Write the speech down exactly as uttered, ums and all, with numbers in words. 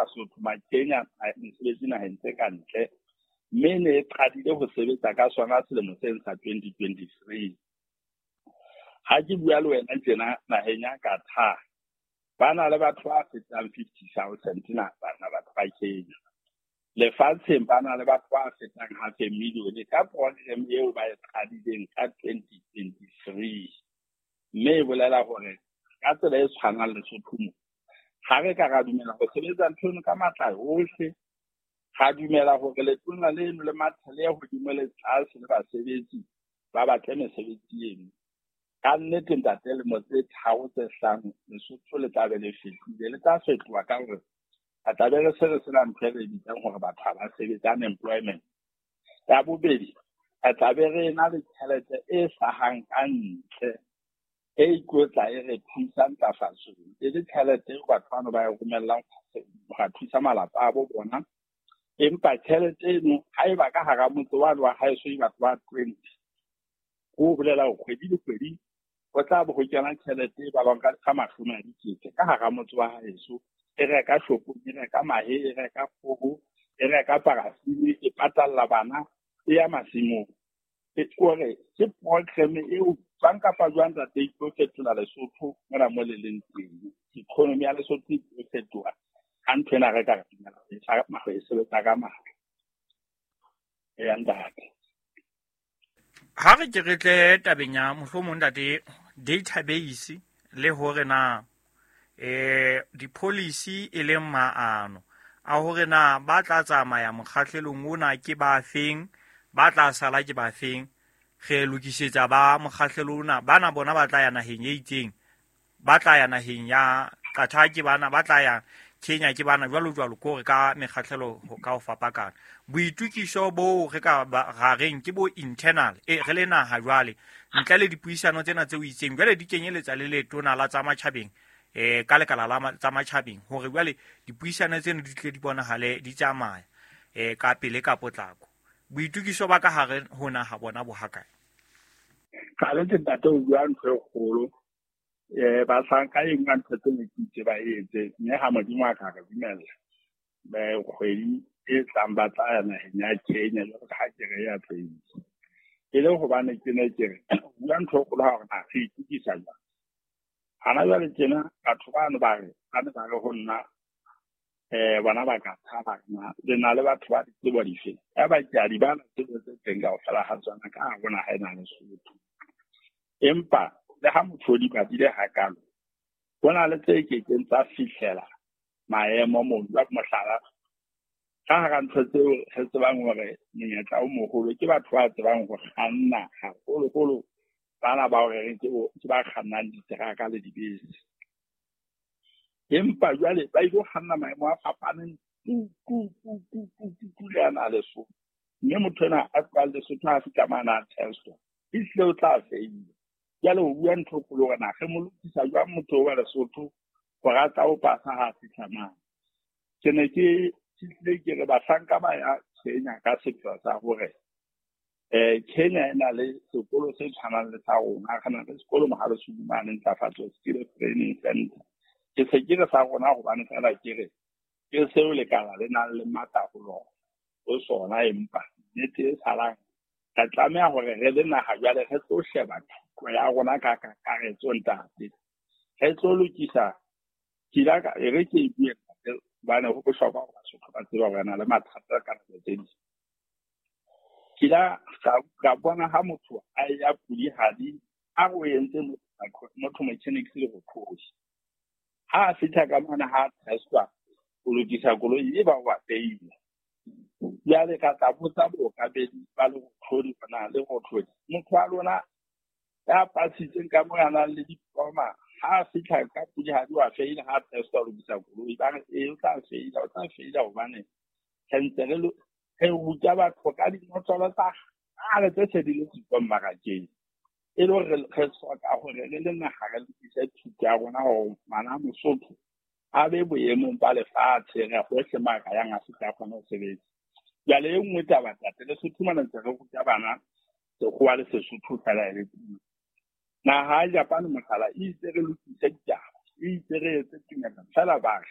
Basotho Makenya mesebetsi naheng tse ka ntle, mme ne e qadile ho sebetsa ka sona selemo sena sa twenty twenty-three. Ha ke bua le wena tjena naheng ya Qatar, ba na le batho ba fetang fifty thousand na bana batho ba Kenya. Lefatsheng ba na le batho ba fetang half a million ka program eo ba e qadileng ka twenty twenty-three. Mme e bolela hore ka tsela e tshwanang Lesotho mo, ha re ka ra dumela ho sebetsa ntho eno ka matla ohle, ra dumela hore letona leno le mathe le hodimo le tlase le basebetsi ba batle mesebetsi eno. Ka nnete ntate, lemo tse tharo tse hlano Lesotho le tla be le fetohile, le tla fetoha ka hore re tla be re se re sena ntho e re bitsang hore batho ha ba sebetse, unemployment. Ya bobedi, re tla be re ena le tjhelete e hlahang ka ntle e ikotla e re thusa ntlafatsong, e le tjhelete eo batho bano ba e romellang ho ra thusa malapa a bo bona. Empa tjhelete eno haeba ka hara motse wa wa haeso e batho ba twenty, ho bolela hore kgwedi le kgwedi ho tla bo ho kena tjhelete e balwang ka, ka mashome a dikete ka hara motse wa haeso. E reka shopong, e reka mahe, e reka kgoho, e reka parafini, e patalla bana, e ya masimong. E kore ke program eo jwang kapa jwang ntate e tlo fetola Lesotho mona mo le leng teng. Economy ya Lesotho e tlo fetoha ha ntho ena re ka re dumela ho e fa- ho e sebetsa ka matla. Eya ntate. Ha re ke re tle tabeng ya mohlomong ntate database le hore na eh di-policy e leng maano a hore na ba tla tsamaya mokgahlelong ona ke ba feng, ba tla sala ke ba feng, re lokisetsa ba mokgahlelo ona, bana bona ba tla ya naheng e itseng, ba tla ya naheng ya Qatar ke bana, ba tla ya Kenya ke bana, jwalo jwalo, ko re ka mekgahlelo ho ka ho fapakana. Boitukiso bo re ka ba ra reng ke bo internal, e re le naha jwale ntle le dipuisano tsena tse o itseng jwale di kenyeletsa le letona la tsa matjhabeng, eh, ka lekala la ma-, tsa matjhabeng, hore jwale dipuisano tseno di tle di bonahale di tsamaya, eh, ka pele ka potlako. Boitukiso ba ka hare ho naha bona bo hakae? Ka le ntate o bua ntho e kgolo. Eh, ba sanka e nngwe ntho tse ne ke itse ba etse, mme ha Modimo a ka re dumella, ba kgwedi e tlang ba tla ya naheng ya Kenya, jwalo ka ha ke re ya teng. E le hobane ke ne ke re, bua ntho e kgolo ha hore na re itukisa jwang. Hana jwale tjena, batho bano ba re, ba ne ba re ho nna, eh, bona ba ka thaba na, le na le batho ba ditsebo dife? Ya ba ke a di bala tsebo tse teng kaofela ha tsona ka hare ho naha ena ya Lesotho. Empa le ha motho o di badile hakalo, ho na le tse kekeng tsa fihlela maemo moo. Jwale mohlala, ka hara ntho tseo re tsebang hore monyetla o moholo ke batho ba tsebang ho kganna haholoholo, bana ba hore re ke bo, ke ba kgannang diteraka le dibese. Empa jwale ba ilo kganna maemo a fapaneng tu, tu, tu, tu, tu, tu, tu, le ana a Lesotho. Mme motho ena a tlohang Lesotho ha a fihla mane a testwa, ehlile o tla feila. Jwale o bua ntho e kgolo hore na re mo lokisa jwang motho wa Lesotho hore a tla o pasa ha a fihla mane. Ke ne ke hlile ke re bahlanka ba ya Kenya ka sepheo sa hore, eh, Kenya e na le sekolo se tshwanang le sa rona. Re na le sekolo Mohale Sudumane, Ntlafatso Skill Training Center. Ke se ke re sa rona hobane feela ke re ke seo lekala le nang le matla ho lona, ho sona, empa nnete e salang re tlameha hore re le naha jwale re tlo sheba thuto ya rona ka kakaretso ntate. Re tlo lokisa, ke ile ka, e re ke e bue ntate, hobane ho bohlokwa hore Basotho ba tsebe hore re na le mathata ka nako tse ding. Ke ile ka, ka bona ha motho a ya pudihadi, a re o entse motho, motho mechanics le bokhosi. Ha a fihla ka mane ha testwa, o lokisa koloi e ba wa feila. Jwale ka tla botsa bookamedi ba Lerothodi hore na Lerothodi, motho wa lona ya pasitseng ka moo a nang le diploma, ha a fihla ka pudihadi wa feila, ha a testwa o lokisa koloi, ba re ee, o tla feila, o tla feila hobane re ntse re lo-, re ruta batho ka dinotlolo tsa kgale tse se di le siko mmarakeng. E le hore re, re hloka hore re le naha re lokise thuto ya rona hore ngwana Mosotho a be boemong ba lefatshe, re hohle moo a ka yang a fihle a kgone ho sebetsa. Jwale e nngwe taba ntate, Lesotho mona ntse re ruta bana Sekgowa le Sesotho fela e le puo. Naha ya Japan mohlala e itse re lokise ditaba, e itse re etse tumellano, feela ba re